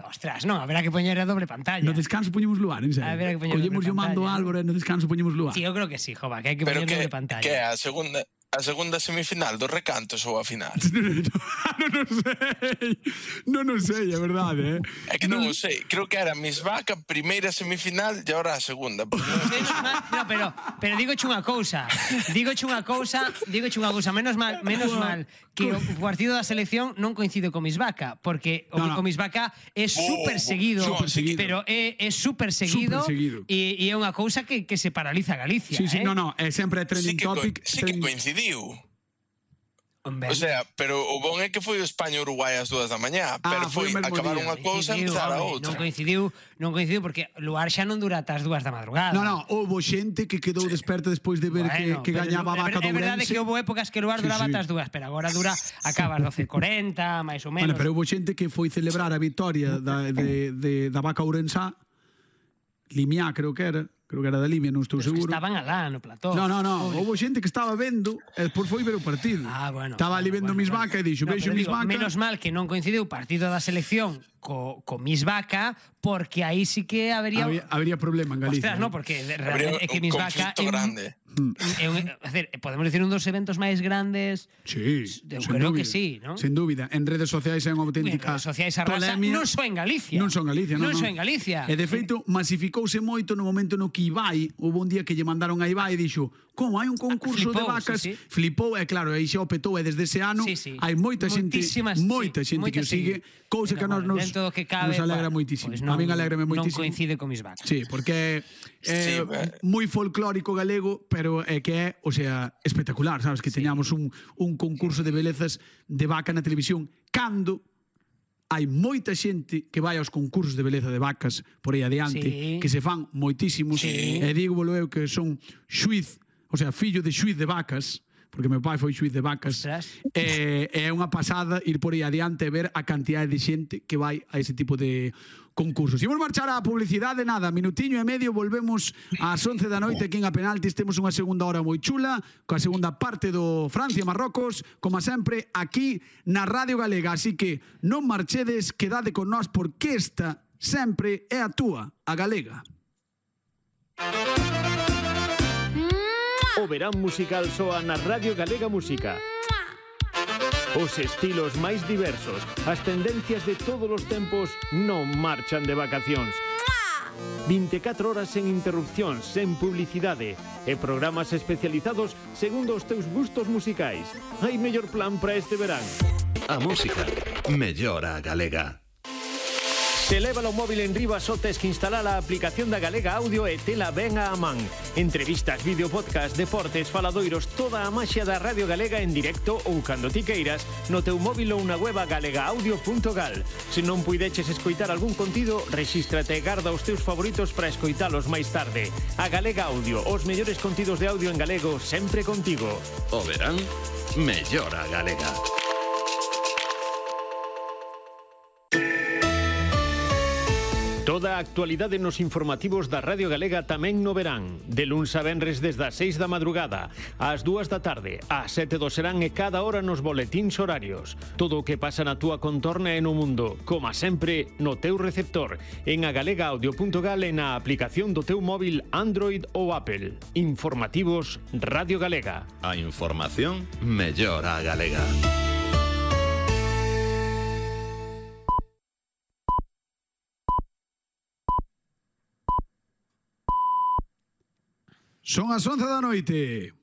ostras, non, haberá que poñer a doble pantalla. No descanso poñemos Luar, en serio. Haberá que poñer Collemos doble o mando pantalla, Álvaro e no descanso poñemos Luar. Sí, eu creo que sí, jova, que hai que Pero poñer doble pantalla. que é a segunda semifinal dos recantos ou a final? Non o sei, é verdade, É que non o sei. Creo que era Miss Vaca, primeira semifinal e agora a segunda. Pero dígoche unha cousa, menos mal que o partido da selección non coincide con Miss Vaca, porque o Miss Vaca é super seguido, pero é super seguido e é unha cousa que se paraliza Galicia. Sí, é sempre trending topic. Sí que coincidiu. O sea, pero o bon é que foi o España-Uruguai ás 2 da mañá, pero foi acabar unha cousa e empezar a outra. Non coincidiu porque Luar xa non dura ata as 2 da madrugada. Non, houve xente que quedou desperta despois de ver que gañaba a Vaca do Ourense. É verdade que houve épocas que Luar duraba ata as 2, pero agora acaba ás 12:40, máis ou menos. Bueno, pero houve xente que foi celebrar a victoria da Vaca Ourensá, Limiá creo que era da Limia, non estou seguro. Estaban alá no plató. Non, houve xente que estaba vendo e despois foi ver o partido. Estaba ali vendo Miss Vaca e dixo, vexo Miss Vaca. Menos mal que non coincidiu o partido da selección co Miss Vaca, porque aí sí que habería problema en Galicia. Ostras, porque realmente é que Miss Vaca é grande. Podemos dicir un dos eventos máis grandes. Sí, eu creo que sí, non? Sen dúbida, en redes sociais é unha auténtica polémica. Non só en Galicia. E de feito masificouse moito no momento no que Ibai, houve un día que lle mandaron a Ibai e dixo, como hai un concurso de vacas, flipou, e claro, aí xa o petou, e desde ese ano hai moita xente que o sigue, cousa que a nos alegra moitísimo. A min alegrame moitísimo. Non coincide con Miss Vaca. Sí, porque é moi folclórico galego, pero é que é, o sea, espectacular, sabes, que teñamos un concurso de belezas de vaca na televisión, cando hai moita xente que vai aos concursos de beleza de vacas por aí adiante, que se fan moitísimos, e digo eu que son xuiz, o sea, fillo de xuiz de vacas, porque meu pai foi xuiz de vacas, é unha pasada ir por aí adiante e ver a cantidade de xente que vai a ese tipo de concursos. Imos marchar á publicidade, nada, minutiño e medio, volvemos ás 11 da noite aquí en A Penaltis, temos unha segunda hora moi chula, coa segunda parte do Francia-Marrocos, como sempre, aquí na Radio Galega, así que non marchedes, quedade con nós, porque esta sempre é a túa, a Galega. O verán musical soa na Radio Galega Música. Os estilos máis diversos, as tendencias de todos os tempos non marchan de vacacións. 24 horas sen interrupcións, sen publicidade e programas especializados segundo os teus gustos musicais. Hai mellor plan para este verán. A música mellora a galega. Se leva o móvil en riba só tes que instalar a aplicación da Galega Audio e tela ben a man. Entrevistas, vídeo, podcast, deportes, faladoiros, toda a maxia da Radio Galega en directo ou cando ti queiras no teu móvil ou na web galegaaudio.gal. Se non puideches escoitar algún contido, rexístrate e garda os teus favoritos para escoitalos máis tarde. A Galega Audio, os mellores contidos de audio en galego sempre contigo. O verán mellora a galega. Toda a actualidade nos informativos da Radio Galega tamén no verán. De luns a venres desde as 6 da madrugada, ás 2 da tarde, ás 7 do serán e cada hora nos boletíns horarios. Todo o que pasa na túa contorna e no mundo, como sempre, no teu receptor, en agalegaudio.gal e na aplicación do teu móvil Android ou Apple. Informativos Radio Galega. A información mellora a galega. Son as 11 da noite.